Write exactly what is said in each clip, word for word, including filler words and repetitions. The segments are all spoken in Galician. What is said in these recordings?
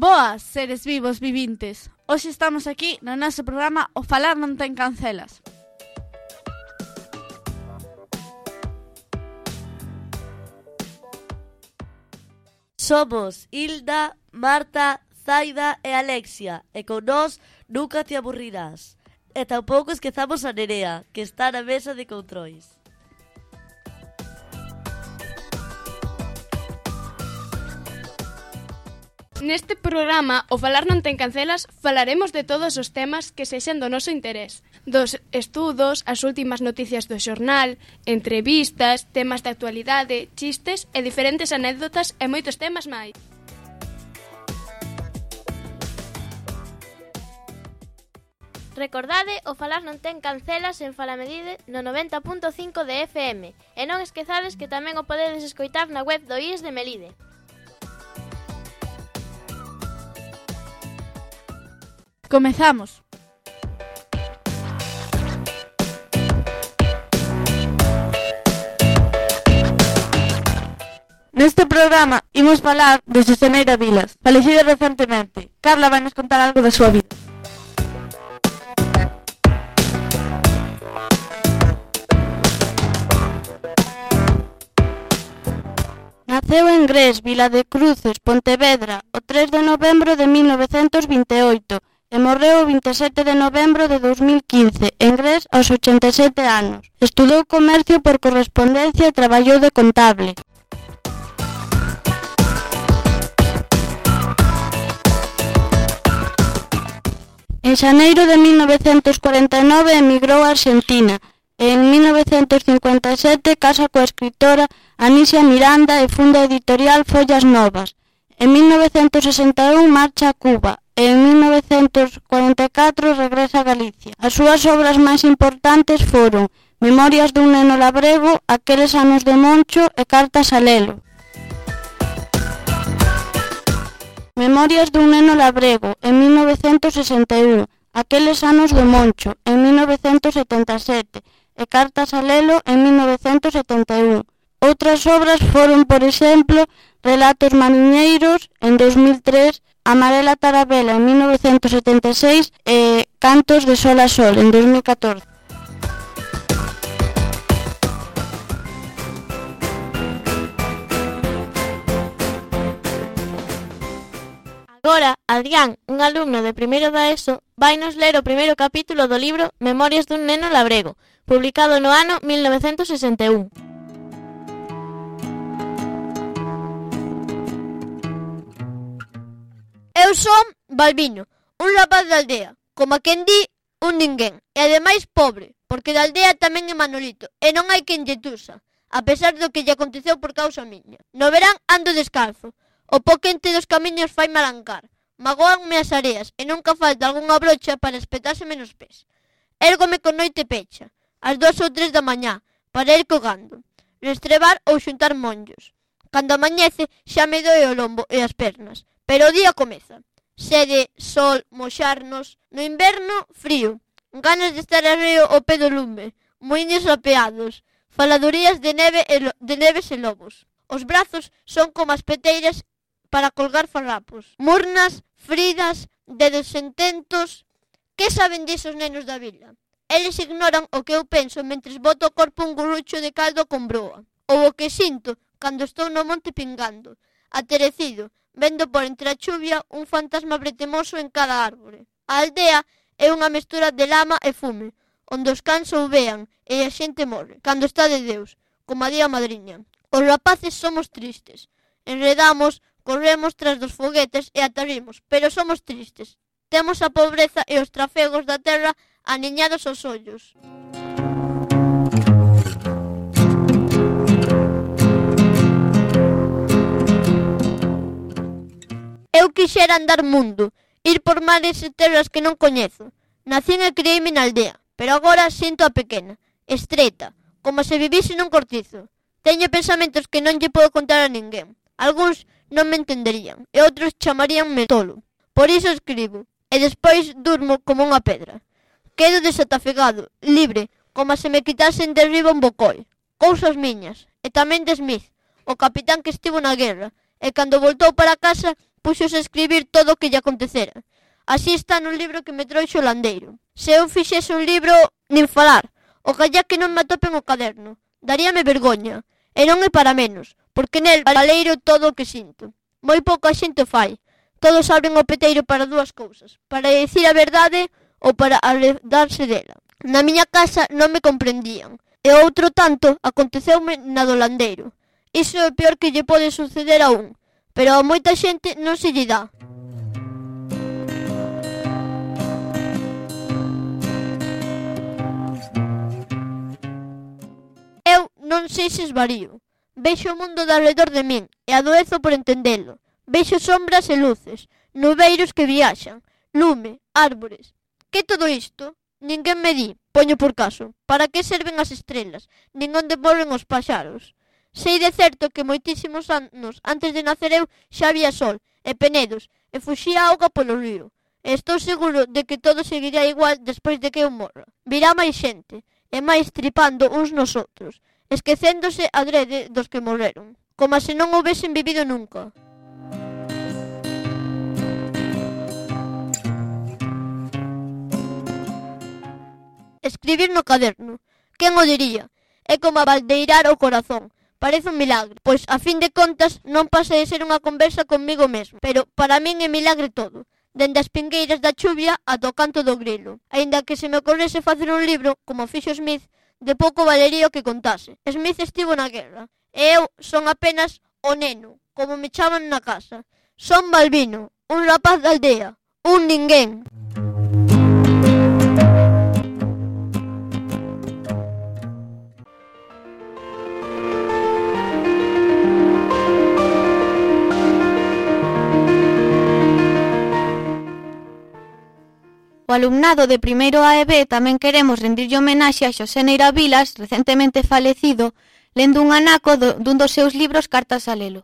Boas, seres vivos vivintes. Hoxe estamos aquí no noso programa O Falar non ten cancelas. Somos Hilda, Marta, Zaida e Alexia, e con nós nunca te aburrirás. E tampouco esquezamos a Nerea, que está na mesa de controis. Neste programa, O Falar non ten cancelas, falaremos de todos os temas que sexan do noso interés. Dos estudos, as últimas noticias do xornal, entrevistas, temas de actualidade, chistes e diferentes anécdotas e moitos temas máis. Recordade, O Falar non ten cancelas en Falamedide no noventa punto cinco de F M e non esquezades que tamén o podedes escoitar na web do I E S de Melide. Comezamos. Neste programa imos falar de Susaneira Vilas, falecida recentemente. Carla vai nos contar algo da súa vida. Naceu en Gres, Vila de Cruces, Pontevedra, o tres de novembro de mil novecentos vinte e oito e morreu o vinte e sete de novembro de dos mil quince, en Gres, aos ochenta e sete anos. Estudou comercio por correspondencia e traballou de contable. En xaneiro de mil novecentos cuarenta e nove emigrou a Argentina e en mil novecentos cincuenta e sete casa coa escritora Anísia Miranda e funda a editorial Follas Novas. En mil novecentos sesenta e un marcha a Cuba e en mil novecentos cuarenta e catro regresa a Galicia. As súas obras máis importantes foron Memorias dun neno labrego, Aqueles anos de Moncho e Cartas a Lelo. Memorias dun neno labrego, en mil novecentos sesenta e un, Aqueles anos de Moncho, en mil novecentos setenta e sete, e Cartas a Lelo, en mil novecentos setenta e un. Outras obras foron, por exemplo, Relatos mariñeiros, en dos mil tres, Amarela Tarabela, en mil novecentos setenta e seis, e Cantos de Sol a Sol, en dos mil catorce. Agora, Adrián, un alumno de primeiro da ESO, vainos ler o primeiro capítulo do libro Memorias dun neno labrego, publicado no ano mil novecentos sesenta e un. Eu son Balbino, un rapaz da aldea, como a quen di, un ninguén, e ademais pobre, porque da aldea tamén é Manolito, e non hai quen lle tusa, a pesar do que lle aconteceu por causa miña. No verán ando descalzo, o po quente dos camiños fai malancar, magoanme as areas, e nunca falta algunha brocha para espetárseme nos pés. Érgome con noite pecha, ás dos ou tres da mañá, para ir cogando, restrebar ou xuntar monllos. Cando amanhece xa me doe o lombo e as pernas, pero o día comeza. Sede, sol, moxarnos, no inverno, frío, ganas de estar arreo ao pé do lume, moiños apeados, faladurías de neve e lo, de neves e lobos. Os brazos son como as peteiras para colgar farrapos, murnas, fridas, dedos sententos. Que saben disos nenos da vila? Eles ignoran o que eu penso mentres boto o corpo un gurrucho de caldo con broa, ou o que sinto cando estou no monte pingando, aterecido, vendo por entre a chuvia un fantasma bretemoso en cada árbore. A aldea é unha mestura de lama e fume, onde os cans ouvean e a xente morre, cando está de Deus, como a día madriña. Os rapaces somos tristes, enredamos, corremos tras dos foguetes e atarimos, pero somos tristes. Temos a pobreza e os trafegos da terra aniñados aos ollos. Eu quixera andar mundo, ir por mares e terras que non coñezo. Nacín e criei-me na aldea, pero agora sinto a pequena, estreta, como se vivise nun cortizo. Teño pensamentos que non lle podo contar a ninguén. Algúns non me entenderían e outros chamaríanme tolo. Por iso escribo, e despois durmo como unha pedra. Quedo desatafegado, libre, como se me quitasen de riba un bocoi. Cousas miñas, e tamén de Smith, o capitán que estivo na guerra, e cando voltou para casa puxose a escribir todo o que lle acontecera. Así está no libro que me trouxo o landeiro. Se eu fixese un libro, nin falar, oxallá que non me atopen o caderno. Daríame vergoña, e non é para menos, porque nel valeiro todo o que sinto. Moi pouca xente o fai. Todos abren o peteiro para dúas cousas, para dicir a verdade ou para aledarse dela. Na miña casa non me comprendían, e outro tanto aconteceume na do landeiro. Iso é o peor que lle pode suceder a un, pero a moita xente non se lle dá. Eu non sei se esvarío. Vexo o mundo de alrededor de min e adoezo por entendelo. Vexo sombras e luces, nubeiros que viaxan, lume, árbores. Que todo isto? Ninguén me di, poño por caso, para que serven as estrelas, nin onde volven os paxaros. Sei de certo que moitísimos anos antes de nacer eu xa había sol e penedos e fuxía auga polo río. E estou seguro de que todo seguirá igual despois de que eu morra. Virá máis xente, e máis tripando uns nos outros, esquecéndose adrede dos que morreron, como se non houvesen vivido nunca. Escribir no caderno. Quen o diría? É como abaldeirar o corazón. Parece un milagre, pois a fin de contas non pasa de ser unha conversa comigo mesmo. Pero para min é milagre todo, dende as pingueiras da chuvia ata o canto do grilo. Aínda que se me ocorrese facer un libro, como fixo Smith, de pouco valería o que contase. Smith estivo na guerra, e eu son apenas o neno, como me chaman na casa. Son Balbino, un rapaz da aldea, un ninguén. O alumnado de primeiro A e B tamén queremos rendirlle homenaxe a Xosé Neira Vilas, recentemente falecido, lendo un anaco do, dun dos seus libros Cartas a Lelo.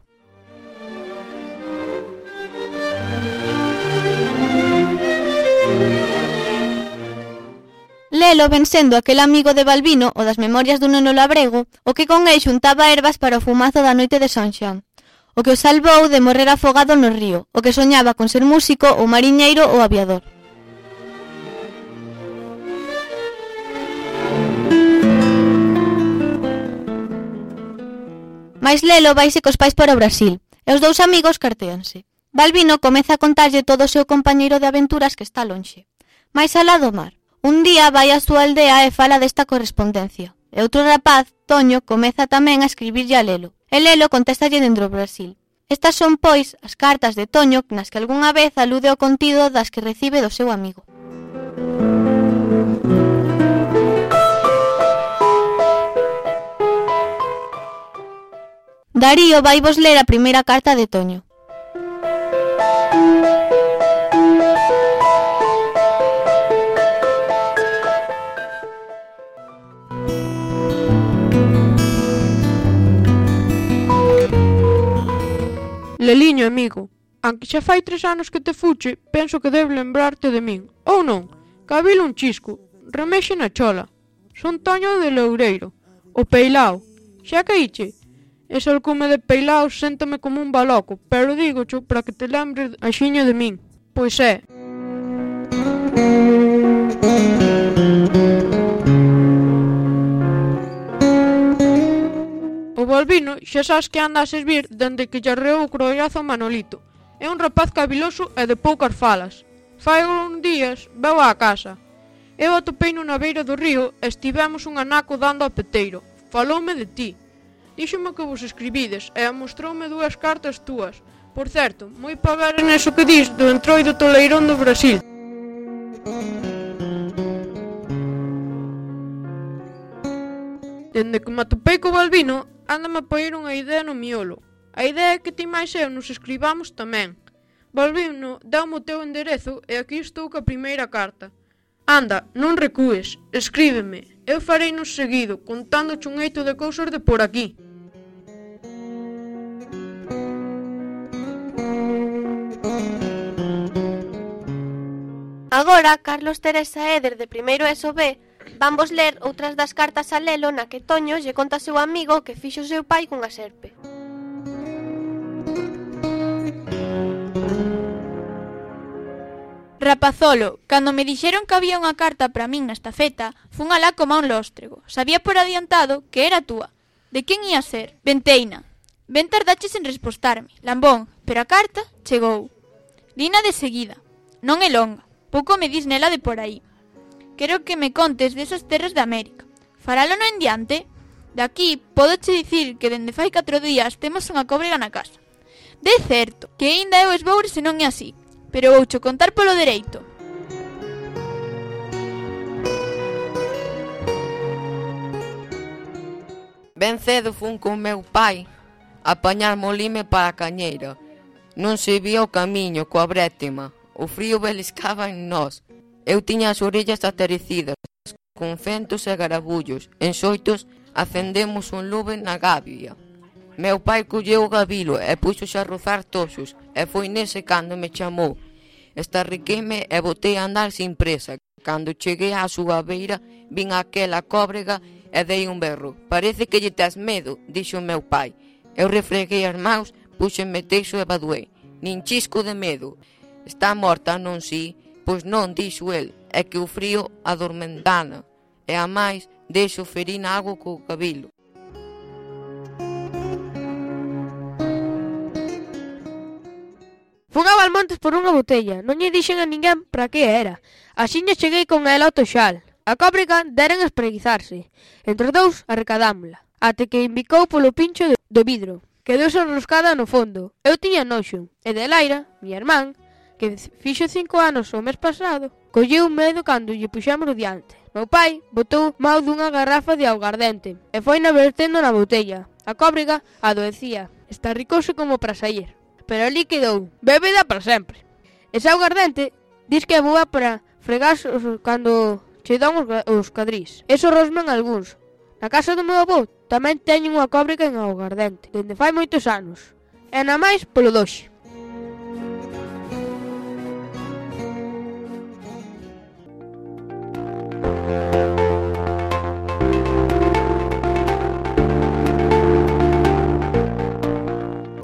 Lelo ven sendo aquel amigo de Balbino, o das memorias dun neno labrego, o que con el xuntaba ervas para o fumazo da noite de San Xoán, o que o salvou de morrer afogado no río, o que soñaba con ser músico, ou mariñeiro ou aviador. Mais Lelo vaise cos pais para o Brasil, e os dous amigos cartéanse. Balbino comeza a contarlle todo o seu compañeiro de aventuras que está lonxe, máis alá do mar. Un día vai á súa aldea e fala desta correspondencia, e outro rapaz, Toño, comeza tamén a escribirlle a Lelo, e Lelo contéstalle dentro do Brasil. Estas son, pois, as cartas de Toño nas que algunha vez alude ao contido das que recibe do seu amigo. Darío vai vos ler a primeira carta de Toño. Leliño, amigo, aunque xa fai tres anos que te fuche, penso que debe lembrarte de min. Ou non, cabilo un chisco, remexe na chola. Son Toño de Loureiro, o Peilao. Xa caíche? Ese alcume de Peilao séntame como un baloco, pero dígocho para que te lembres axiña de min. Pois é. O Balbino xa sabes que anda a servir dende que lle arreou o crollazo a Manolito. É un rapaz caviloso e de poucas falas. Fai uns días veu á casa. Eu atopei na beira do río e estivemos un anaco dando a peteiro. Faloume de ti. Díxome que vos escribides e mostroume dúas cartas túas. Por certo, moi para ver neso que dis do entroido toleirón do Brasil. Dende que me atopei co Balbino, ándame a poñer unha idea no miolo. A idea é que ti máis eu nos escribamos tamén. Balbino, dá-me o teu enderezo e aquí estou ca primeira carta. Anda, non recúes, escríbeme. Eu farei nos seguido, contando un eito de cousas de por aquí. Agora, Carlos, Teresa e Eder de primeiro E S O B van vos ler outras das cartas a Lelo na que Toño lle conta ao seu amigo que fixo seu pai cunha serpe. Rapazolo, cando me dixeron que había unha carta para min na estafeta, fun alá como a un lóstrego. Sabía por adiantado que era túa. De quen ia ser? Venteina. Ben tardaches en respostarme, lambón, pero a carta chegou. Lina de seguida. Non é longa. Pouco me dis nela de por aí. Quero que me contes desas terras de América. Faralo no en diante? De aquí, podoche dicir que dende fai catro días temos unha cóbrega na casa. De certo, que aínda eu esboure se non é así, pero voucho contar polo dereito. Ben cedo fun con meu pai a apañar molime para a cañeira. Non se vía o camiño coa brétema, o frío beliscaba en nós. Eu tiña as orellas aterecidas, con fentos e garabullos. En xoitos acendemos un lume na gabia. Meu pai colleu o gabilo e puxose a rozar toxos, e foi nese cando me chamou. Estarriqueime e botei a andar sin presa. Cando cheguei á súa beira, vin aquela cóbrega e dei un berro. Parece que lle tes medo, dixo meu pai. Eu refreguei as mãos, puxenme teixo e baduei. Nin chisco de medo. Está morta, non si? Pois non, dixo el, é que o frío adormentana. E a máis, deixo ferir na agua co cabilo. Fun a Valmontes por unha botella, non lle dixen a ninguén para que era. Axiña cheguei con ela ao toxal. A cóbrega deren espreguizarse. Entre os dous arrecadámola, até que invicou polo pincho do vidro. Quedouse enroscada no fondo. Eu tiña noxo, e Delaira, miña irmán, que fixo cinco anos o mes pasado, colleu medo cando lle puxamos o diante. Meu pai botou mau dunha garrafa de augardente e foi na vertendo na botella. A cóbrega adoecía, estarricouse como para sair, pero ali quedou, bébeda para sempre. Ese augardente dis que é boa para fregar cando che dan os cadrís. Eso rosman algúns. Na casa do meu avó tamén teñen unha cóbrega en augardente, dende fai moitos anos. E na máis polo doxe.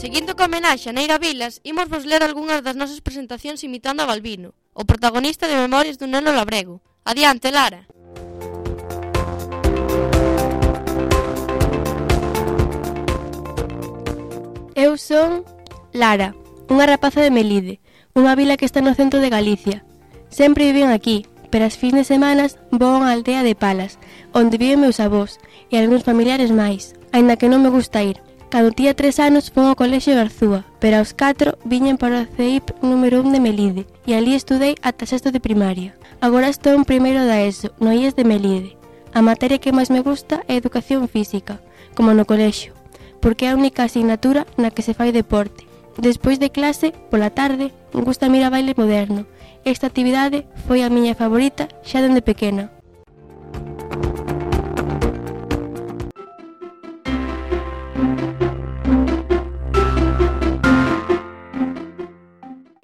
Seguindo co homenaxe a Neira Vilas, imos vos ler algunhas das nosas presentacións imitando a Balbino, o protagonista de Memorias dun neno labrego. Adiante, Lara. Eu son Lara, unha rapaza de Melide, unha vila que está no centro de Galicia. Sempre viven aquí, pero as fins de semanas vou a unha aldea de Palas, onde viven meus avós e algúns familiares máis, aínda que non me gusta ir. Cando tía tres anos fun ao colexio Garzúa, pero aos catro viñen para o C I P número un de Melide, e ali estudei ata sexto de primaria. Agora estou en primeiro da ESO, no I E S de Melide. A materia que máis me gusta é Educación Física, como no colexio, porque é a única asignatura na que se fai deporte. Despois de clase, pola tarde, gusta mirar baile moderno. Esta actividade foi a miña favorita xa dende pequena.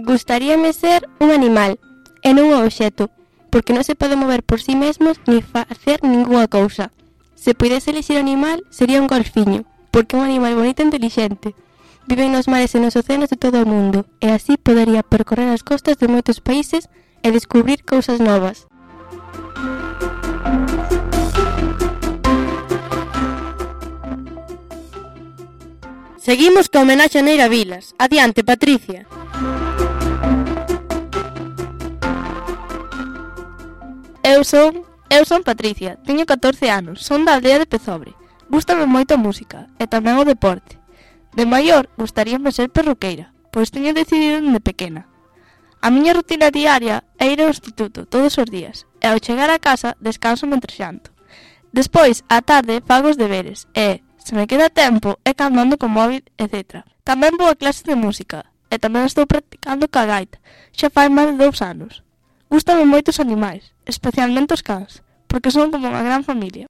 Gustaríame ser un animal, e non un obxecto, porque non se pode mover por si mesmos ni facer ningunha cousa. Se puidese elixir animal, sería un golfiño, porque é un animal bonito e inteligente. Viven nos mares e nos océanos de todo o mundo, e así podería percorrer as costas de moitos países e descubrir cousas novas. Seguimos co homenaxe a Neira Vilas. Adiante, Patricia. Eu son, eu son Patricia, teño catorce anos, son da aldea de Pezobre. Gústame moito a música e tamén o deporte. De maior, gustaríame ser perruqueira, pois teño decidido dende pequena. A miña rutina diaria é ir ao instituto todos os días, e ao chegar a casa descanso mentre xanto. Despois, á tarde, fago os deberes, e, se me queda tempo, é cando ando con móvil, etcétera. Tamén vou a clases de música, e tamén estou practicando ca gaita, xa fai máis de dous anos. Gústame moito os animais, especialmente os cans, porque son como unha gran familia.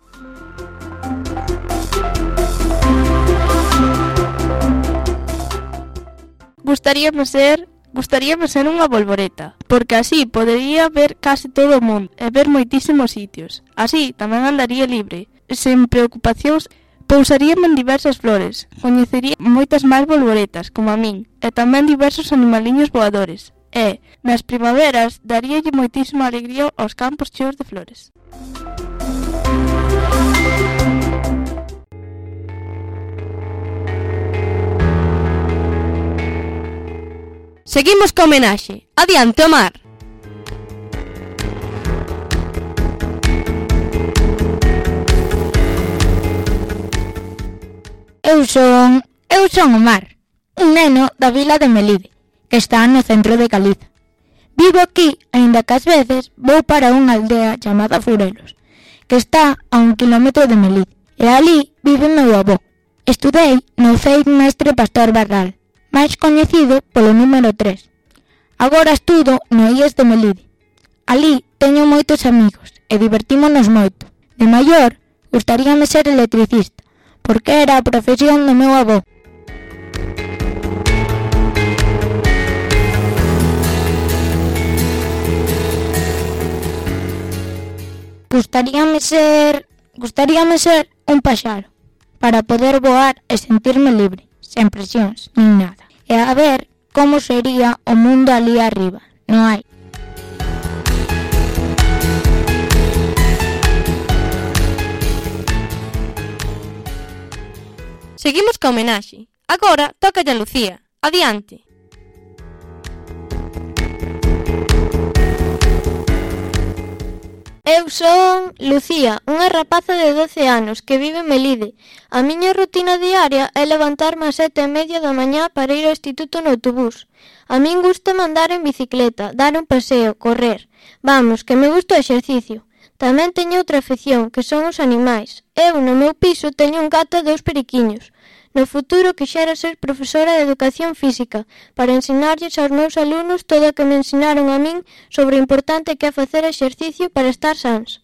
Gustaríame ser, gustaríame ser unha bolboreta, porque así podería ver casi todo o mundo e ver moitísimos sitios. Así tamén andaría libre, sen preocupacións, pousaríame en diversas flores, coñecería moitas máis bolboretas, como a min, e tamén diversos animaliños voadores. E, nas primaveras, daríalle moitísima alegría aos campos cheos de flores. Seguimos co homenaxe. Adiante, Omar. Eu son... eu son Omar, un neno da vila de Melide, que está no centro de Galiza. Vivo aquí, aínda que ás veces vou para unha aldea chamada Furelos, que está a un kilómetro de Melide, e ali vive meu avó. Estudei no Ceit Mestre Pastor Barral, máis coñecido polo número tres. Agora estudo no I E S de Melide. Ali teño moitos amigos e divertímonos moito. De maior, gustaríame ser electricista, porque era a profesión do meu avó. Gustaríame ser... gustaríame ser un paxaro, para poder voar e sentirme libre, sen presións, nin nada. E a ver como sería o mundo ali arriba, non hai? Seguimos ca homenaxe. Agora tócalle a Lucía. Adiante. Eu son Lucía, unha rapaza de doce anos que vive en Melide. A miña rutina diaria é levantarme ás sete e media da mañá para ir ao instituto no autobús. A min gusta andar en bicicleta, dar un paseo, correr. Vamos, que me gusta o exercicio. Tamén teño outra afección, que son os animais. Eu, no meu piso, teño un gato e dous periquiños. No futuro quixera ser profesora de educación física para ensinarlles aos meus alumnos todo o que me ensinaron a min sobre o importante que é facer exercicio para estar sans.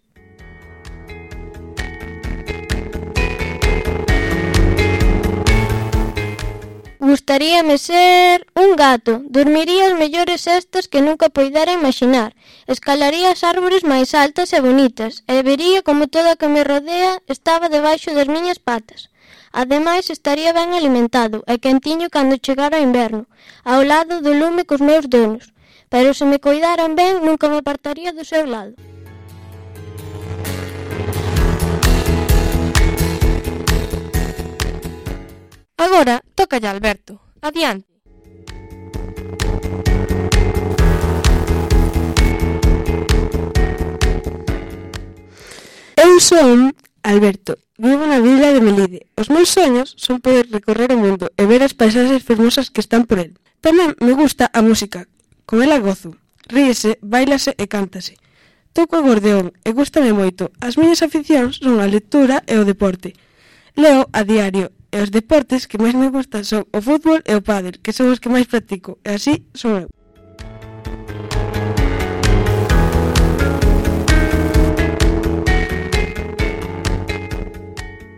Gustaríame ser un gato. Dormiría as mellores sestas que nunca poidera imaginar. Escalaría as árbores máis altas e bonitas e vería como todo o que me rodea estaba debaixo das miñas patas. Ademais, estaría ben alimentado e quentiño cando chegara o inverno, ao lado do lume cos meus donos. Pero se me coidaran ben, nunca me apartaría do seu lado. Agora, tócalle a Alberto. Adiante. Eu son Alberto. Vivo na vila de Melide. Os meus soños son poder recorrer o mundo e ver as paisaxes fermosas que están por el. Tamén me gusta a música. Con ela gozo. Ríese, bailase e cántase. Toco o acordeón e gústame moito. As miñas aficións son a lectura e o deporte. Leo a diario e os deportes que máis me gustan son o fútbol e o pádel, que son os que máis practico. E así son eu.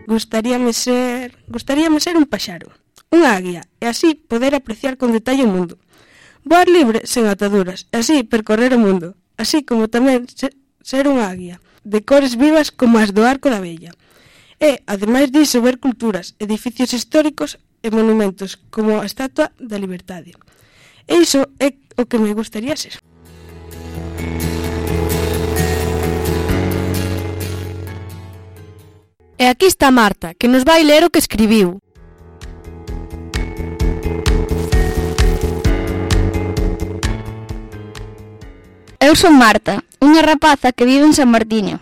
Gustaríame ser... Gustaríame ser un paxaro, unha águia, e así poder apreciar con detalle o mundo. Voar libre sen ataduras, e así percorrer o mundo, así como tamén ser unha águia, de cores vivas como as do arco da vella. E, ademais diso, ver culturas, edificios históricos e monumentos, como a Estatua da Liberdade. E iso é o que me gustaría ser. E aquí está Marta, que nos vai ler o que escribiu. Eu son Marta, unha rapaza que vive en San Martiño.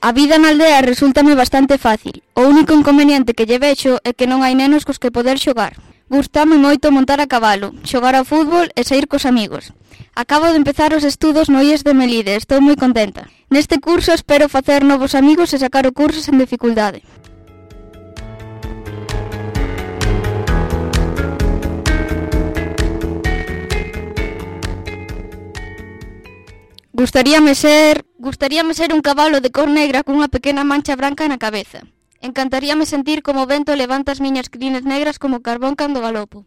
A vida na aldea resúltame bastante fácil. O único inconveniente que lle vexo é que non hai nenos cos que poder xogar. Gústame moito montar a cabalo, xogar ao fútbol e saír cos amigos. Acabo de empezar os estudos no I E S de Melide, estou moi contenta. Neste curso espero facer novos amigos e sacar o curso sen dificultade. Gustaríame ser... Gustaríame ser un cabalo de cor negra cunha pequena mancha branca na cabeza. Encantaríame sentir como o vento levanta as miñas crines negras como carbón cando galopo.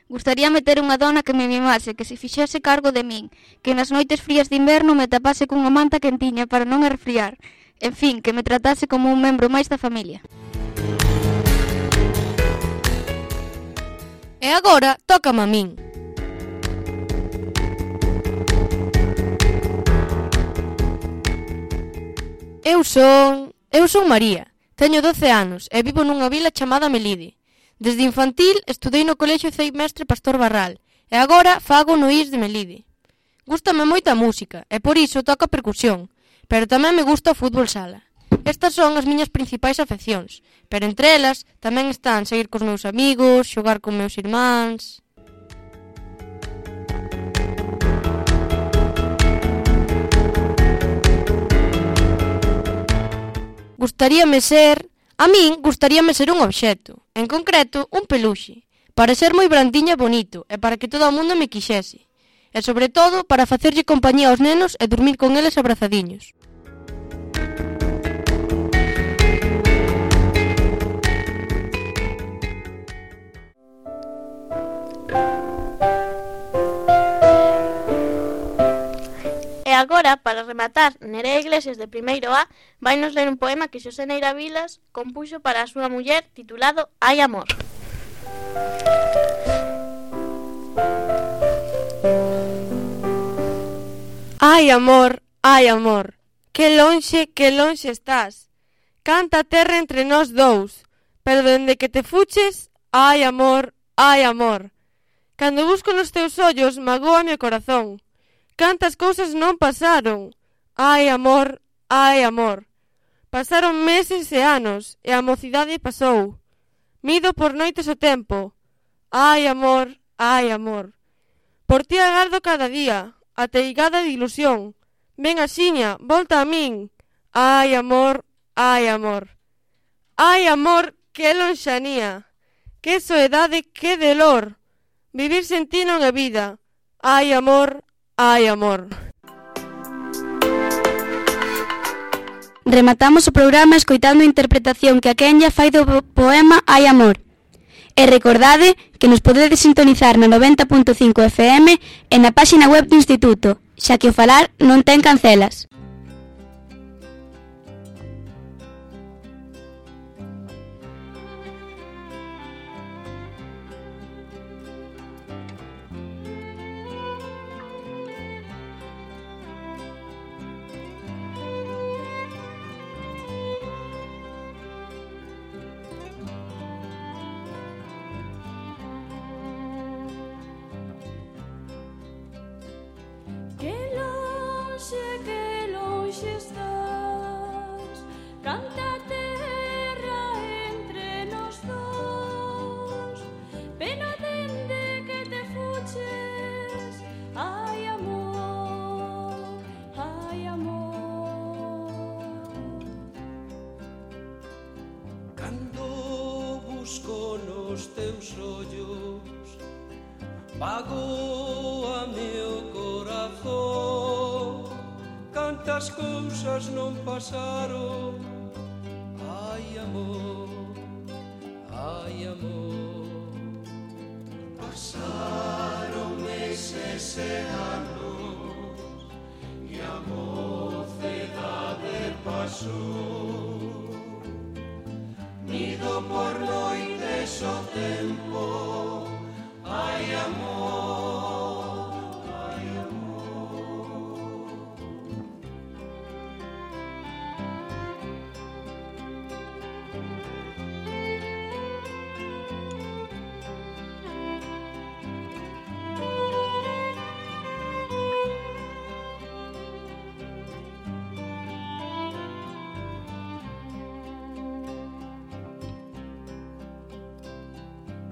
Gustaríame ter unha dona que me mimase, que se fixese cargo de min, que nas noites frías de inverno me tapase cunha manta quentiña para non arfriar. En fin, que me tratase como un membro máis da familia. E agora, tócame a min. Eu son... Eu son María. Teño doce anos e vivo nunha vila chamada Melide. Desde infantil estudei no colexio Cei Mestre Pastor Barral e agora fago no I S de Melide. Gústame moita a música e por iso toco a percusión, pero tamén me gusta o fútbol sala. Estas son as miñas principais afeccións, pero entre elas tamén están saír cos meus amigos, xogar con meus irmáns... Gustaríame ser... A min gustaríame ser un obxecto, en concreto un peluxe, para ser moi brandiña e bonito e para que todo o mundo me quixese. E sobre todo para facerlle compañía aos nenos e dormir con eles abrazadiños. E agora, para rematar, Nerea Iglesias de primeiro A vai nos ler un poema que Xosé Neira Vilas compuxo para a súa muller titulado Hai amor. Ai, amor, ai, amor, que lonxe, que lonxe estás. Canta a terra entre nós dous, pero dende que te fuches, ai, amor, ai, amor. Cando busco nos teus ollos, magóame o corazón. Cantas cousas non pasaron. Ai, amor, ai, amor. Pasaron meses e anos, e a mocidade pasou. Mido por noites o tempo. Ai, amor, ai, amor. Por ti agardo cada día, ateigada de ilusión. Ven axiña, volta a min. Ai, amor, ai, amor. Ai, amor, que lonxanía. Que soedade, que dolor. Vivir sen ti non é vida. Ai, amor, ai, amor. Rematamos o programa escoitando a interpretación que a Kenya fai do poema Hai amor. E recordade que nos podedes sintonizar na noventa punto cinco F M e na páxina web do Instituto, xa que o falar non ten cancelas. Magóame o corazón, cantas cousas non pasaron. Ai, amor, ai, amor. Pasaron meses e anos e a mocedade pasou. Nido por noites o tempo. Ai, amor, ai, amor.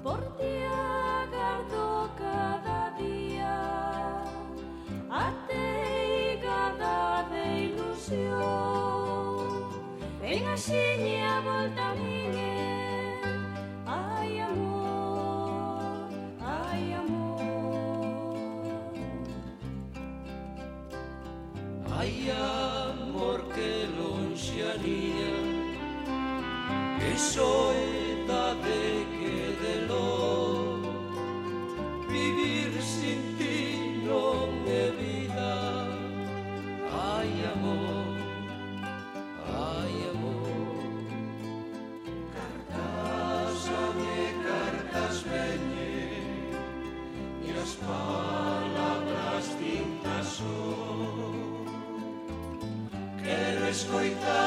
Por ti agardo cada día, ateigada de ilusión. Ven axiña, volta a min, ai, amor, ai, amor. Ai, amor, que lonxanía, que soedade, que dolor. Vivir sin ti non é vida. Ai, amor, ai, amor. Cartas ame, cartas veñen, e as palabras tintas son. Quero escoitar